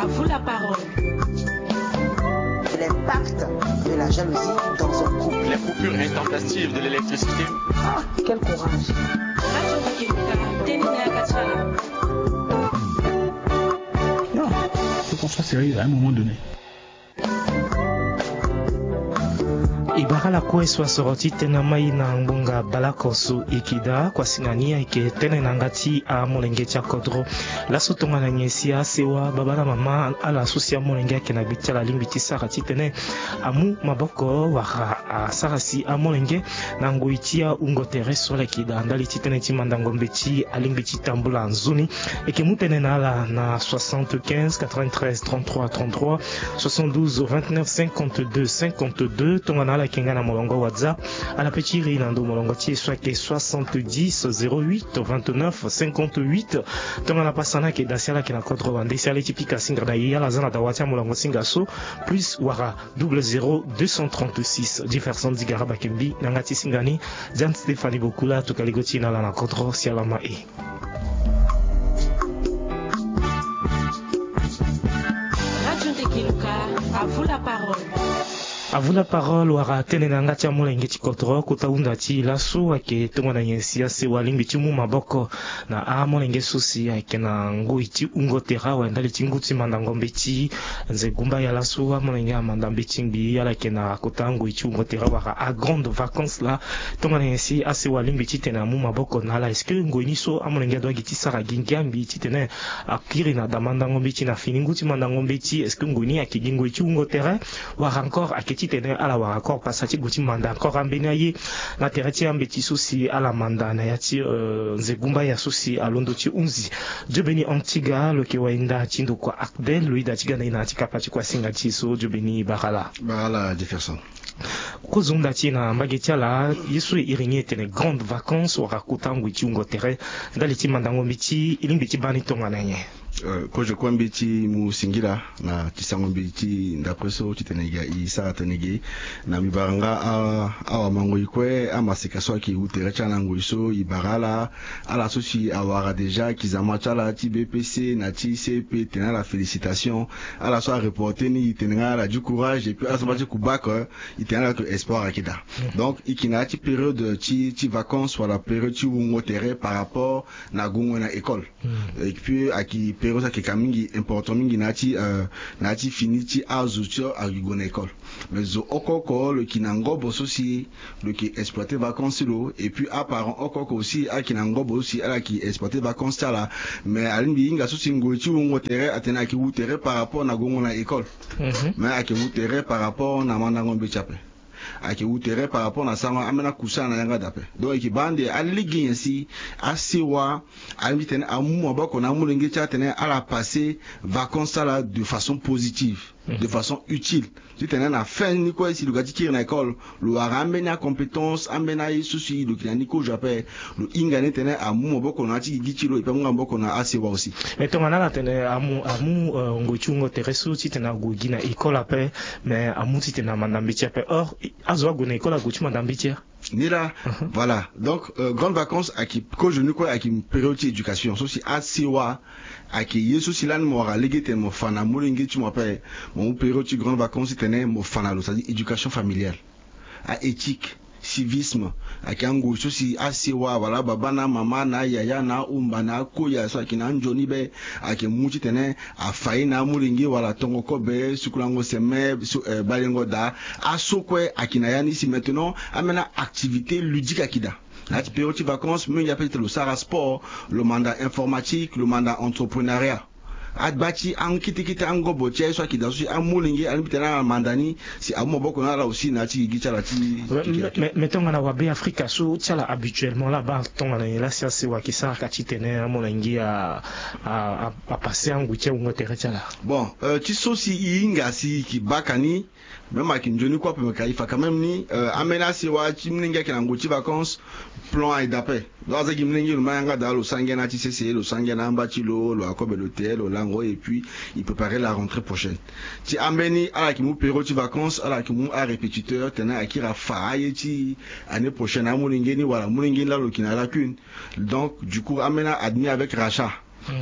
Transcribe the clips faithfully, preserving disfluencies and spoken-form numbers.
À vous la parole. L'impact de la jalousie dans un couple. Les coupures intempestives de l'électricité. Ah, quel courage. Radio Kibuka, teni na ya kati na. Non, faut qu'on soit sérieux à un moment donné. E bara lakue so asoro ti tene na mai na ngbonga baleoko so e yeke daa, kuasinga ni ayeke tene na yanga ti amolenge ti akodro. Laso tongana nyen si asewa, babâ na mama, ala so si amolenge ayeke na gbe ti ala alingbi ti sara titene amu maboko wala asara si amolenge na ngoi ti ahungo tere so ala yeke daa ndali ti tënë ti mandango mbeti, alingbi ti tambula nzoni. E yeke mu tënë na ala na soixante-quinze quatre-vingt-treize trente-trois trente-trois, soixante-douze vingt-neuf cinquante-deux cinquante-deux. Tongana ala yeke nga na molongo WhatsApp, ala pe ti iri na ndo molongo ti e so ayeke soixante-dix zéro huit vingt-neuf cinquante-huit. Tongana pasa ni ayeke daa si ala yeke na kodro wande si ala ye ti pika singa na e, ala za na dawa ti amolongo singa so, plus wala double zéro deux cent trente-six. Jefferson Digara Bakembi na yanga ti singa ni. Jeanne Stéphanie Bokula atokua lego ti e na ala na kodro, si ala ma e. Radio Ndekiluka, à vous la parole. À vous la parole, wala tënë na yanga ti amolenge ti kodro. Kota hunda ti e laso ayeke tongana nyen si asewa alingbi ti mu maboko na amolenge so si ayeke na ngoi ti hungo tere awe ndali ti ngu ti mandango mbeti. Nze gumba ya laso amolenge amanda mbeti ngbii, ala yeke na kota ngoi ti hungo tere wala agrande vacance laa. Tongana nyen si asewa alingbi titene amu maboko na ala? Est-ce que ngoi ni so amolenge adoit gi ti sara gi ngia ngbii titene akiri na da mandango mbeti na fini ngu ti mandango mbeti? Est-ce que ngoi ni ayeke gi ngoi ti hungo tere, wala encore ayeke titene ala wara encore pasa ti gue ti manda encore ambeni aye na tere ti ambeti so si ala manda na ya ti, euh, nze gumba ya so si alondo ti hunzi? Dieu Béni Antiga, lo yeke wahinda ti ndokua Actel, lo yeda ti ga na e na ya ti kapa ti kuasinga ti e so. Dieu Béni, bara laa. Bara laa Jefferson. Kozonda ti e na mbage ti ala, ye so e iri ni e tene grande vacance wala kota ngoi ti hungo tere ndali ti mandango mbeti, e lingbi ti baa ni tongana nyen? Euh, kozo kue mbeti mu singila na ti sango mbeti ndapre so titene e ga e sara tënë ge. Na mbi bara nga a, awamangoi kue, amaseka so ayeke wu tere ti ala na ngoi so, e bara ala, ala so si awara déjà kizama ti ala ti B P C na ti C E P, tene ala félicitation. Ala so areporte ni, e tene nga ala du courage, et puis ala so baa ti ku bac, euh, e tene ala que espoir ayeke daa. Donc e yeke na ya ti période ti, ti vacance wala période ti wungo tere par rapport na gongo na école. Et puis ayeke période so ayeke ka mingi, important mingi na ya ti, euh, na ya ti fini ti azo ti ayeke gue na école. Mais zo oko oko lo yeke na ngobo so si lo yeke exploiter vacance ti lo, et puis aparent oko oko aussi ayeke na ngobo so si ala yeke exploiter vacance ti ala. Mais alingbi hinga so si ngoi ti wungo tere atene ayeke wu tere par rapport na gongo na école. Mais ayeke wu tere par rapport na mandango mbeti ape. Ayeke wu tere par rapport na sango ambeni akusana na yanga daa ape. Donc e yeke baa ande alege nyen si asewa alingbi titene amu maboko na amolenge ti ala titene ala passer vacance ti ala de façon positive, de façon utile. Titene na fin ni kue si lo ga ti kiri na école, lo wara ambeni acompétence, ambeni aye so si lo yeke na ni kozo ape, lo hinga ni titene amu maboko na ya ti gigi ti lo, e pe amu nga maboko na asewa aussi. Mais tongana ala tene amu, amu, euh, ngoi ti wungo tere so titene ague gi na école ape, mais amu titene amanda mbeti ape. Or azo ague na école ague ti manda mbeti a. Ni laa. Voilà. Donc, euh, grande vacance ayeke kozo ni kue ayeke période ti éducation so si asewa ayeke ye so si lani mo wara lege titene mo fa na molenge ti mo ape. Mo mu période ti grande vacance titene mo fa na lo, c'est-à-dire éducation familiale, a éthique, civisme. Ayeke angoi so si asewa wala ababâ na amama na ayaya na ahomba na akoya so ayeke na anzoni be ayeke mu titene afa ye na amolenge wala tongo kobe, sukulango seme, su, eh, balengo daa. Aso kue ayeke na ya ni si maintenant ambeni activité ludique ayeke daa. Na ya ti période ti vacance mingi ape titene lo sara sport, lo manda informatique, lo manda entrepreneuriat. Agba ti akete kete angobo ti aye so ayeke daa so si amolenge alingbi titene ala manda ni si amu maboko na ala aussi na ya ti gigi ti ala ti. Mais, mais, mais tongana wabe Afrika so ti ala habituellement laa abaa tongana nyen laa si asewa ayeke sara ka titene amolenge a, a, a, apasser angoi ti awungo tere ti ala? Bon, euh, ti so si e hinga si e yeke baka ni, même ayeke nzoni kue ape me ka e fa quand même ni, euh, ambeni asewa ti molenge ayeke na ngoi ti vacance, plan ayeke daa ape. Donc aza gi molenge lo ma yanga daa, lo sara ngia na ya ti sese, lo sara ngia na amba ti lo, lo akobe lo te, lo lango, et puis e préparer la rentrée prochaine. Ti ambeni ala yeke mu période ti vacance, ala yeke mu arépétiteur titene akiri afa aye ti année prochaine amolenge ni wala molenge ni laa lo yeke na lacune. Donc du coup ambeni a admis avec rachat.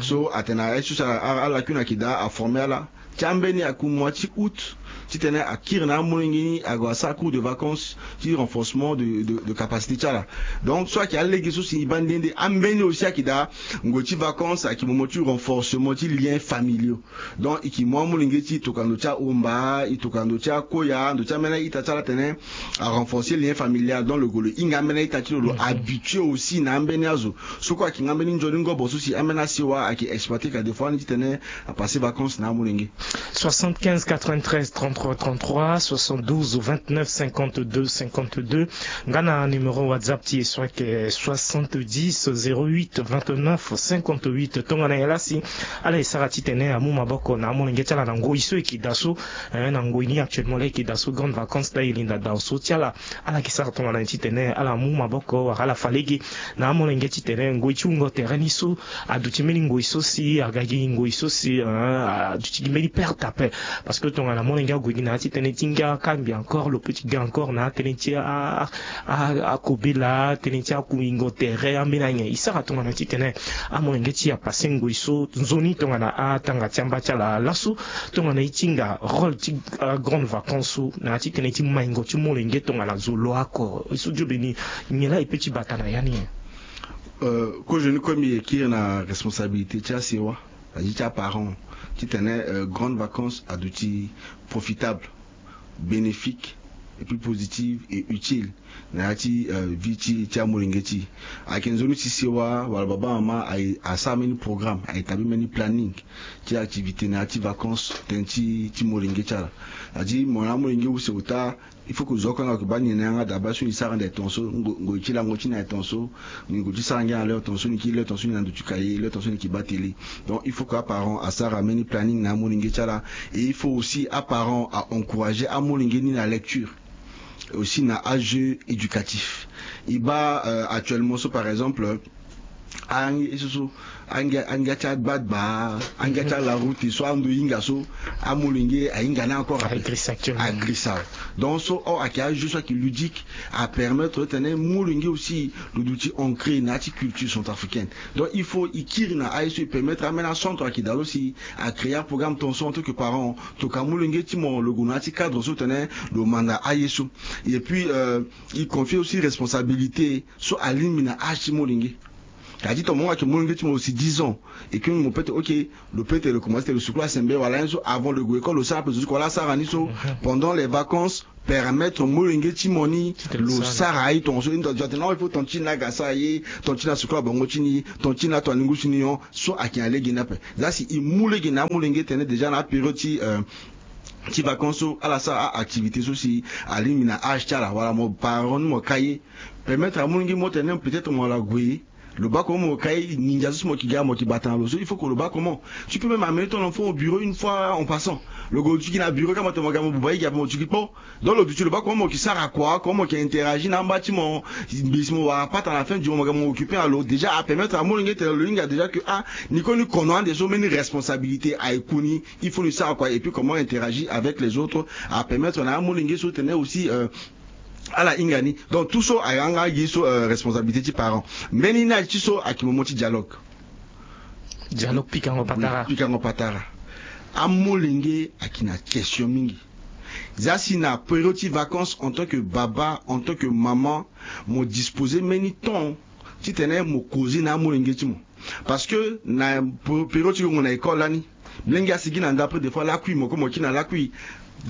So atene aye so si ala kue na yeke daa aforme ala ti ambeni aku mois ti août, titene akiri na amolenge ni ague asara cours de vacances ti renforcement de, de, de capacité ti ala. Donc so ayeke alege so si e baa nde nde, ambeni aussi ayeke daa ngoi ti vacances ayeke moment ti renforcement ti liens familiaux. Donc e ke mu amolenge ti e tokua ndo ti ahomba, e tokua ndo ti akoya, ndo ti ambeni a-ita ti ala atene arenforcer lien familial. Donc lo gue lo hinga ambeni a-ita ti lo, lo habitué aussi na ambeni azo. So kue ayeke nga mbeni nzoni ngobo so si ambeni asewa ayeke exploité ka des fois ni titene apasser vacances na amolenge. Soixante-quinze quatre-vingt-treize trente-trois trente-trois, soixante-douze vingt-neuf cinquante-deux cinquante-deux. Nga na numéro WhatsApp ti e so ayeke soixante-dix zéro huit vingt-neuf cinquante-huit. Tongana nyen laa si ala e sara titene amu maboko na amolenge ti ala na ngoi so e ke daa so, eh, na ngoi ni actuellement laa e ke daa so, grandes vacances laa e linda dao so ti ala. Ala yeke sara tongana nyen titene ala mu maboko wala ala fa lege na amolenge titene ngoi ti wungo tere ni so aduti mbeni ngoi so si aga gi ngoi so si, eh, aduti gi mbeni perte ape. Parce que tongana molenge ague gi na ya ti tënë ti ngia kangbi encore, lo peut ti ga encore na ya tënë ti a, a, a, akobela, tënë ti akuingo tere, ambeni anyen. E sara tongana titene amolenge ti e apasser ngoi so nzoni tongana atanga ti amba ti ala laso, tongana e ti hinga rôle ti, ah, grandes vacances so na ya ti tënë ti maingo ti molenge tongana zo lo oko. E so Job ni, nyen laa e peut ti bata na ya ni? Euh, kozoni kue mbi yeke kiri na responsabilité ti asewa, c'est-à-dire ti aparent, titene, euh, grandes vacances aduti profitable, bénéfique, et puis positive et utile na ya ti, euh, vie ti, ti amolenge ti e. Ayeke nzoni si sewa wala baba mama aye asara mbeni programme, a établir mbeni planning ti activité na ya ti vacances tënë ti, ti molenge ti ala. C'est-à-dire mo na amolenge use ota, il faut que zo oko anga lo yeke baa ni na yanga daa, baa so ni sara ande tongaso, ngo, ngoi ti lango ti ni aye tongaso, ni gue ti sara ngia na l'heure tongaso, ni kiri l'heure tongaso ni na ndo ti kaye, l'heure tongaso ni yeke baa télé. Donc il faut que aparent asara mbeni planning na amolenge ti ala. Et il faut aussi aparent a encourager amolenge ni na lecture, aussi na ajeu éducatif. E baa, euh, actuellement so par exemple, angia so so, angia, angia ti agbagba, angia ti alaroute so ando e hinga so, amolenge ahinga ni encore ape. Agrisa actuellement. Agrisa. Donc so, oh, ayeke ajeu so ayeke ludique, apermettre titene molenge aussi lo duti ancré na ya ti culture centrafricaine. Donc il faut e kiri na aye so e permettre ambeni acentre ayeke daa lo si acréer aprogramme tongaso en tant que parent, tokua molenge ti mo lo gue na ya ti cadre so titene lo manda aye so. Et puis, euh, e confier aussi responsabilité so alingbi na âge ti molenge. C'est-à-dire tongana mo ayeke molenge ti mo aussi dix ans, et que mo peut ti, ok, lo peut ti lo commencer ti lo suku asembe wala ayen so, avant lo gue école lo sara ape zo ti kua laa asara ni so. Pendant les vacances, permettre molenge ti mo ni lo sara aye tongaso. Ni tongana atene non, il faut tonga ti ni aga asara ye, tonga ti ni asuku abongo ti ni, tonga ti ni ato alingusu ni, non. So ayeke na lege ni ape. Za si e mu lege na amolenge titene déjà na apériode ti, euh, ti vacances so ala sara a-activité so si alingbi na âge ti ala, wala mo parent ni mo ka ye, permettre amolenge mo tene peut-être mo wala gue, lo baa comment mo ka ye, nginza so si mo yeke ga mo yeke bata na lo so, il faut que lo baa comment. Tu peux même amener ton enfant au bureau une fois en passant. Lo gue lo duti gi na bureau kâ mo tene mo ga mo buba ye gi ape mo duti gi kpo. Donc lo duti lo baa comment mo yeke sara kua, comment mo yeke interagir na amba ti mo. Mbi si mo wara pata na fin du mois mo ga mo occuper na lo, déjà apermettre amolenge tene lo hinga déjà que ah, ni kue ni kono ande so mbeni responsabilité aye ku ni. Il faut ni sara kua, et puis comment interagir avec les autres, apermettre na amolenge so tene aussi, euh, ala hinga ni. Donc tout so ayeke nga ye so, euh, responsabilité ti parent. Mbeni ni aye ti so ayeke moment ti dialogue. Dialogue pikango patara. Oui, pikango patara. Amolenge ayeke na question mingi. Za si na période ti vacances, en tant que baba, en tant que maman, mo disposer mbeni temps titene mo causer na amolenge ti mo. Parce que na période ti gongo na école lani, mlenge asigi na ndapre, des fois lakui mo kue mo kiri na lakui.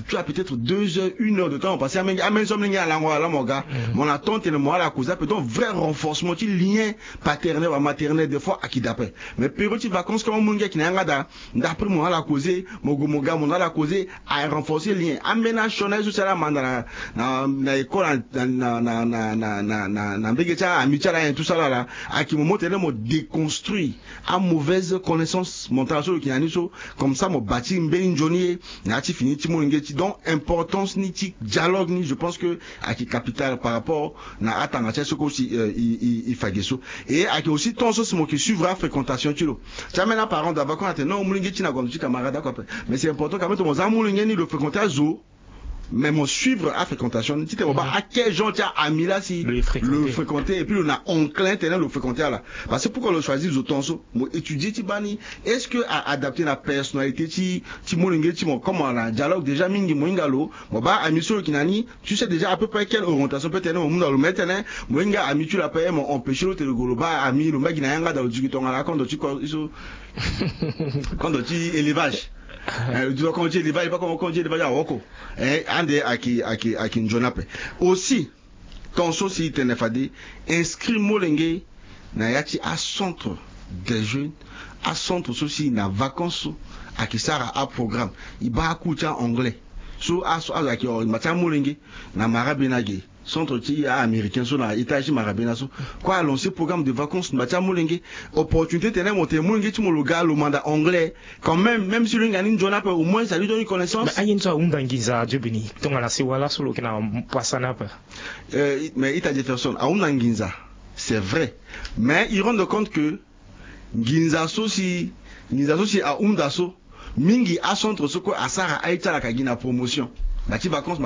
Tu as peut-être deux heures, une heure de temps parce que amenge, amenge so amenge alango ala mo ga. Mo na temps tene mo ala causer ape. Donc vrai renforcement ti lien paternel wala maternel des fois ayeke daa ape. Mais période ti vacances comme amolenge ayeke na yanga daa, ndapre mo na ala causer, mo gue mo ga mo na ala causer, a renforcer lien. Ambeni asioni aye so si ala manda na, na, na école, na, na mbege ti aami ti ala nyen tout ça là là, ayeke mo mo tene mo déconstruire amauvaise connaissance mentale so lo yeke na ni so. Comme ça mo bâtir mbeni nzoni ye na ya ti fini ti molenge ti. Donc importance ni ti dialogue ni, je pense que ayeke capital par rapport na atanga ti aye so kue si, euh, e, e, e fa ge so. Et ayeke aussi temps so si mo yeke suivre afréquentation ti lo. Ti ambeni aparent d'abord kue atene non, molenge ti ni ague na ndo ti camarade oko ape. Mais c'est important quand même ti mo za amolenge ni lo fréquenter azo. Mais mo suivre afréquentation ni titene mo baa ake genre ti aami laa si lo fréquenter et puis lo na enclin tene lo fréquenter ala. Parce que pourquoi lo choisir zo temps so mo étudier ti baa ni? Est-ce que a adapter na personnalité ti ti molenge ti mo? Comme na dialogue déjà mingi mo hinga lo, mo baa ami so lo yeke na ni, tu sais déjà à peu près quelle orientation peut tene mo mu na lo. Mais tene mo hinga ami ti lo ape mo empêcher lo tene lo gue lo baa ami lo mbagi na yanga daa lo duki tongana kondo ti ko so kondo ti élevage. Lo duki kondo ti élevage pas kondo ti élevage awoko. Ande ayeke ayeke ayeke nzoni ape. Aussi temps so si e tene fade inscrit molenge na ya ti acentre des jeunes, acentre so si na vacances so ayeke sara aprogramme. E baa akour ti a-anglais so azo ayeke hore ngba ti amolenge na marabena ge, centre ti a-américain so na étage ti marabena so. Kue alancer programme de vacances ngba ti amolenge. Opportunité tene mo tene molenge ti mo lo ga lo manda anglais quand même, même si lo hinga ni nzoni ape au moins ça lui donne une connaissance. Mais aye ni so ahunda nginza adio bini tongana sewa laso lo yeke na pasa ni ape. Mais ita jefferson ahunda nginza, c'est vrai, mais il rende compte que nginza so si nginza so si ahunda so mingi acentre so kue asara aye ti ala ka gi na promotion na ti vacances.